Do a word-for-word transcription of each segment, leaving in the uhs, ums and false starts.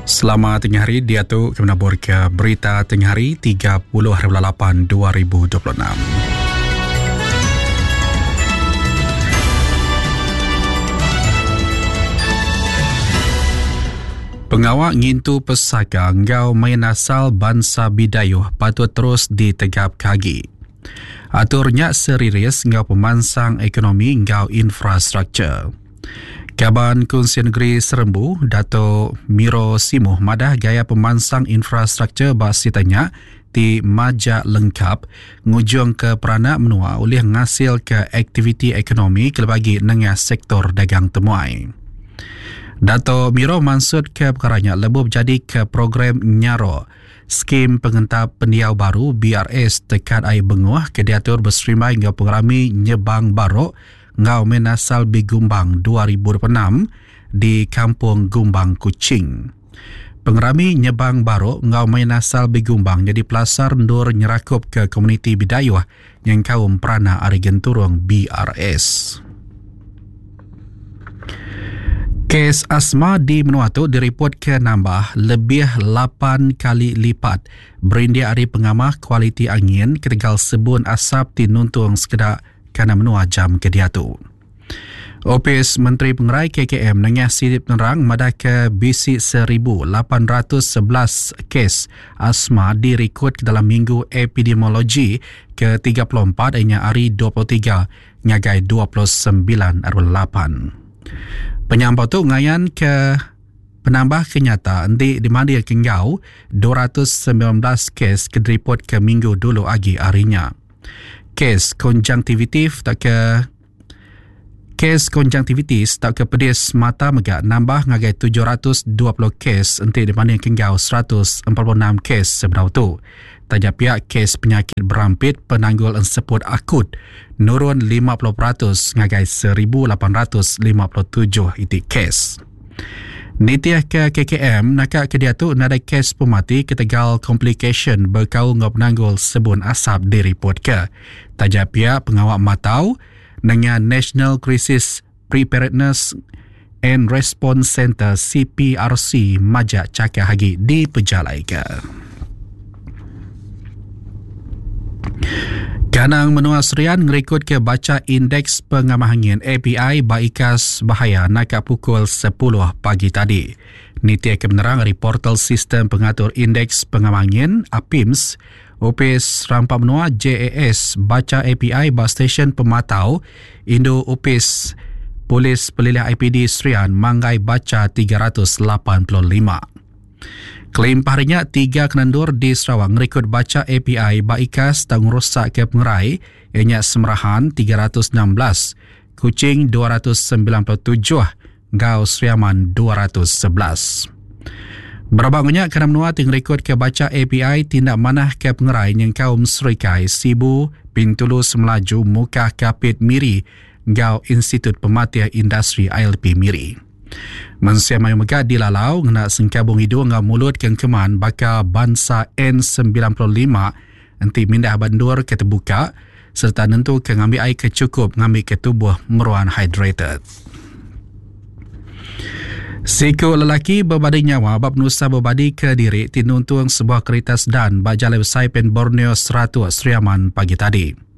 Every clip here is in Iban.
Selamat tengah hari, dia tu kami nabur ke berita tengah hari tiga puluh hari bulan lapan dua ribu dua puluh enam. Pengawak ngintu pesaka ngau main asal bansa Bidayuh patut terus ditegap kagi. Aturnya seriris ngau pemansang ekonomi ngau infrastruktur. Kaban Kunsi Negeri Serembu, Dato' Miro Simuh madah gaya pemansang infrastruktur bak sitanya ti majak lengkap ngujung ke peranak menua oleh ngasil ke aktiviti ekonomi kelebagi nengah sektor dagang temuai. Dato' Miro maksud ke perkaranya lebuh jadi ke program Nyaro Skim Pengentap Pendiau Baru B R S Tekat Air Benguh ke diatur berserimai ngau pengerami Nyebang Barok ngau Menasal Bigumbang dua ribu dua puluh enam di Kampung Gumbang Kuching. Pengerami Nyebang Barok ngau Menasal Bigumbang jadi pelasar ndur nyerakup ke komuniti Bidayuh yang kaum perana ari genturung B R S. Kes asma di menua tu diripot ke nambah lebih lapan kali lipat berindik ari pengamah kualiti angin ketegal sebun asap ti nuntung sekedak kana menua jam ke diatu. Opis Menteri Pengerai K K M nengah silip penerang madah ke bisi seribu lapan ratus sebelas kes asma direkod ke dalam minggu epidemiologi ke tiga puluh empat ianya hari dua puluh tiga ngagai dua puluh sembilan lapan. Penyampau tu ngayan ke penambah kenyata endi dimandi ke ngau dua ratus sembilan belas kes ke diripot ke minggu dulu agi harinya. Kes konjunktivitis tak ke kes konjunktivitis tak ke pedis mata mega nambah ngagai tujuh ratus dua puluh kes enti dibanding ke ngau seratus empat puluh enam kes sebenar tu. Tanya pihak kes penyakit berampit penanggul enseput akut nurun lima puluh peratus ngagai seribu lapan ratus lima puluh tujuh itik kes. Nitiah ke K K M nakak ke dia tu nadai kes pemati ketegal complication berkaul ngau penanggul sebun asap diripot ke. Taja pihak pengawak matau dengan National Crisis Preparedness and Response Center C P R C majak cakap hagi di pejalai ke. Kanang menua Serian ngerikut ke baca indeks pengamah angin A P I baikas bahaya nakak pukul sepuluh pagi tadi. Nitia kebenaran dari portal sistem pengatur indeks pengamah angin A P I M S, Upis Rampak Menua J A S baca A P I bas stesen pematau Indo Upis Polis Pelilih I P D Serian manggai baca tiga ratus lapan puluh lima. Kelimpahnya tiga kenandur di Sarawak ngerikut baca A P I baikas tang rosak ke pengerai ianya Semerahan tiga ratus enam belas, Kuching dua ratus sembilan puluh tujuh, Gau Seriaman dua ratus sebelas. Berabangnya kerana menua ngerikut ke baca A P I tindak manah ke pengerai yang kaum Serikai, Sibu, Bintulu Semelaju, Mukah Kapit Miri, Gau Institut Pematian Industri I L P Miri. Mensia mayu mega dilalau ngena sengkabung hidung ngau mulut kengkeman baka bangsa N sembilan puluh lima enti mindah bandur ke terbuka serta nentu ke ngambil air ke cukup ngambil ke tubuh meruan hydrated. Siku lelaki berbadi nyawa bab nusa berbadi ke diri tinuntung sebuah kereta sedan bak Jalan Besai Pen Borneo seratus Seriaman pagi tadi.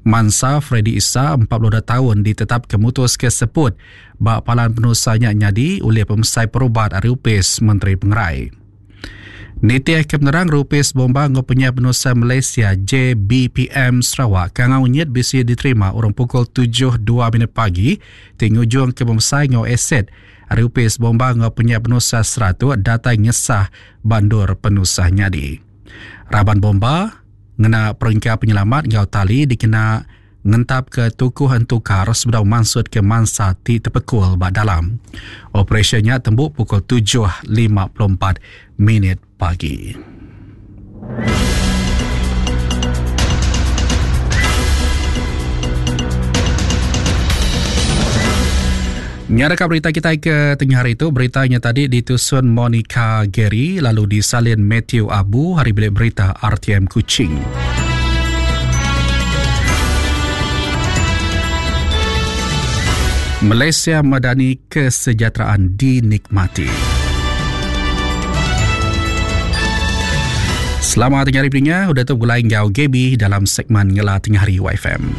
Mansa Freddy Issa empat puluh dua tahun ditetap kemutus ke seput bak palan penusahnya nyadi oleh pemesai perubat ari Upis Menteri Pengerai. Nitiah kebenaran Rupis Bomba Ngopunya Penusa Malaysia J B P M Sarawak kangau nyet bisi diterima orang pukul tujuh dua minit pagi tingujung ke pemesai ngau aset ari Upis Bomba Ngopunya Penusa Seratus datai ngesah bandur penusah nyadi. Raban bomba ngena peringkat penyelamat ngau tali dikena ngentap ke tukuh entukar sebedau mansut ke mansa ti tepekul bak dalam. Operasinya tembuk pukul tujuh lima puluh empat minit pagi. Nyarakan berita kita ke tengah hari itu, beritanya tadi ditusun Monica Gary lalu disalin Matthew Abu, hari bilik berita R T M Kuching. Malaysia Madani kesejahteraan dinikmati. Selamat tengah hari peninga, udah tu begulai enggau Gaby dalam segmen Ngela Tengah Hari Y F M.